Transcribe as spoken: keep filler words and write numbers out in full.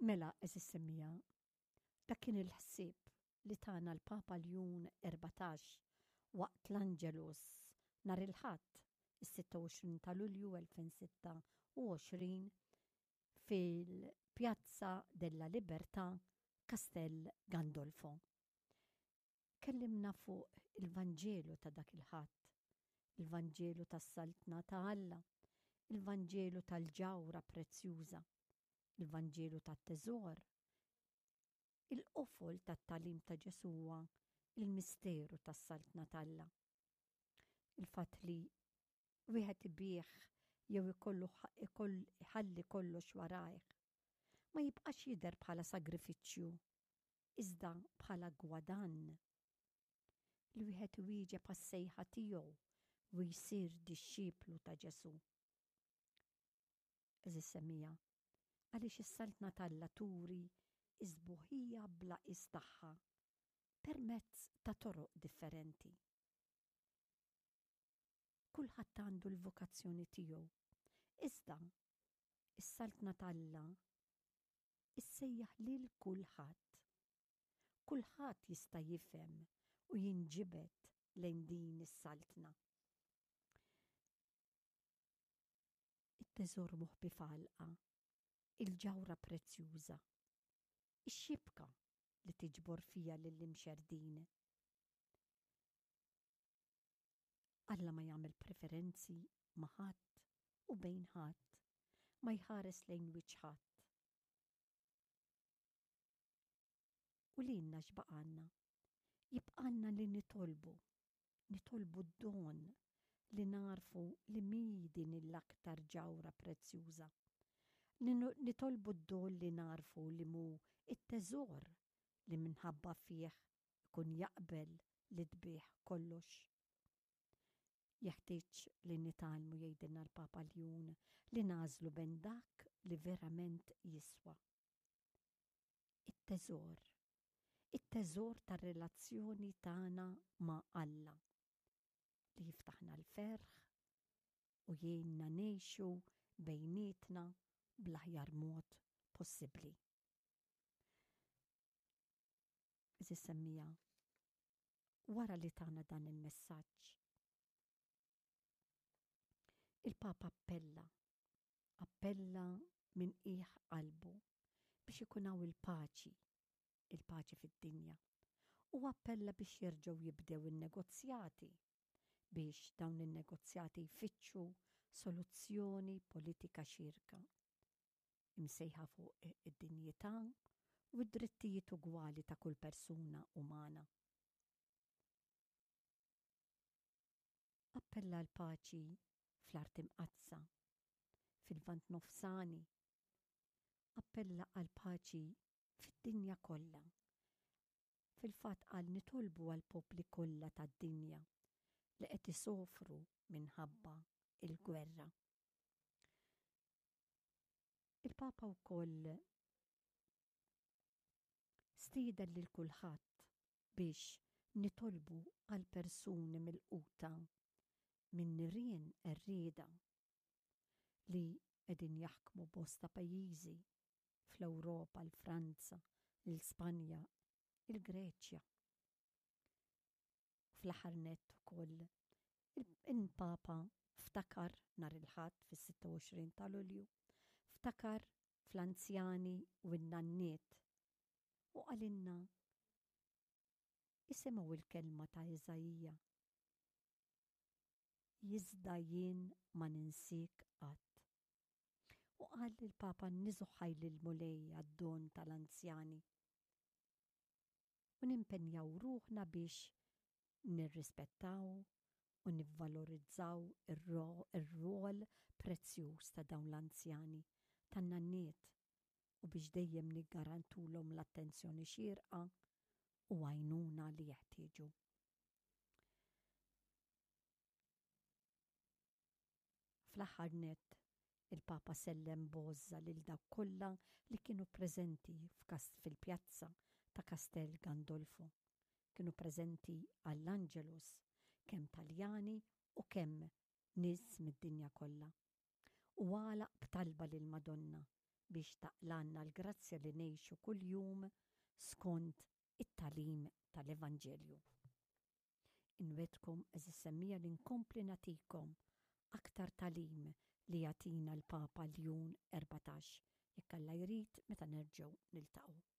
Mela, għeżież semmiegħa, dak kien il-ħsieb li tana l-Papa Ljun Erbatax waqt l-Angelus nhar il-Ħadd, is-sitta u għoxrin ta' Lulju elfejn sitta u għoxrin fil-Piazza della Libertà, Castel Gandolfo. Kellimna fuq il-Vanġelu ta' dak il-Ħadd, il-Vanġelu tas-Saltna ta' Alla, il-Vanġelu tal-ġawra prezzjuża, il-Vanġelu tat-teżor. Il-qofol tat-tagħlim ta' Ġesù huwa il-misteru tas-Saltna t'Alla. Il-fatt li wieħed ibih jew ikollu iħalli kollox warajh ma jibqax jidher bħala sagrifiċċju, iżda bħala gwadann. Li wieħed iwieġeb għas-sejħa tiegħu u jsir dixxiplu ta' Ġesù. Għeżież semmiegħa, għaliex is-Saltna t'Alla turi is-sbuħija bla qies tagħha permezz ta' toroq differenti. Kulħadd għandu l-vokazzjoni tiegħu, iżda is-Saltna t'Alla issejjaħ lil kulħadd. Kulħadd jista' jifhem u jinġibed lejn din is-saltna. It-teżor moħbi f'għalqa, il-ġawra prezzjuża, ix-xibka li tiġbor fija lill-imxerdin. Alla ma jagħmel preferenzi ma' ħadd u bejn ħadd, ma jħares lejn wiċċ ħadd. U lilna x'baqgħalna? Jibqgħalna li nitolbu, nitolbu d-don li nagħrfu li mhi din l-aktar ġawhra prezzjuża. Nitolbu d-don li nagħrfu li mhu t-teżor li minħabba fih ikun jaqbel li tbigħ kollox. Jeħtieġ li nitgħallmu, jgħidilna l-Papa Ljun, li nagħżlu bejn dak li verament jiswa. It-teżor. It-teżor tar-relazzjoni tagħna ma' Alla li jiftaħna l-ferħ u jgħinna ngħixu bejnietna bl-aħjar mod possibbli. Għeżież semmiegħa, wara li tana dan il-messaġġ, il-Papa appella, appella minn qiegħ qalbu biex ikun hawn il-paċi, il-paċi fid-dinja, u appella biex jerġgħu jibdew in-negozjati, biex dawn in-negozjati jfittxu soluzzjoni politika xierka, imsejħa fuq id-dinjità u d-drittijiet ugwali ta' kull persuna umana. Appella l-paċi fl-Art Imqaddsa, fil-Lvant Nofsani. Appella għall-paċi fid-dinja kollha. Fil-fatt qal nitolbu għall-popli kollha tad-dinja li qed isofru minħabba il-gwerra. Il-Papa wkoll stieden lil kulħadd biex nitolbu għal persuni milquta minn nirien qerrieda li qegħdin jaħkmu bosta pajjiżi fl-Ewropa, l-Franza, l-Spanja, il-Greċja. U fl-aħħar nett ukoll il-Papa ftakar nhar il-Ħadd fis-sitta u għoxrin ta' Lulju, ftakar fl-anzjani u n-nanniet u qalilna isimgħu l-kelma ta' Iżaija. Iżda jien ma ninsiek qatt. U qal il-Papa niżuħħaj lill-Mulej għad-don tal-anzjani. U nimpenjaw ruħna biex nirrispettaw u nivvalorizzaw ir-rwol prezzjuż ta' dawn l-anzjani, tan-nanniet, u biex dejjem niggarantulhom l-attenzjoni xierqa u għajnuna li jeħtieġu. Fl-aħħar nett, il-Papa sellem b'għożża lil dawk kollha li kienu preżenti fil-pjazza ta' Castel Gandolfo. Kienu preżenti għall-Angelus, kemm Taljani u kemm nies mid-dinja kollha. U għalaq b'talba lill-Madonna Biex taqlgħalna l-grazzja li ngħixu kuljum skont it-tagħlim tal-Evanġelju. Inwegħedkom, għeżież semmiegħa, li nkompli nagħtikom aktar tagħlim li jagħtina l-Papa Ljun Erbatax, jekk Alla jrid, meta nerġgħu niltaqgħu.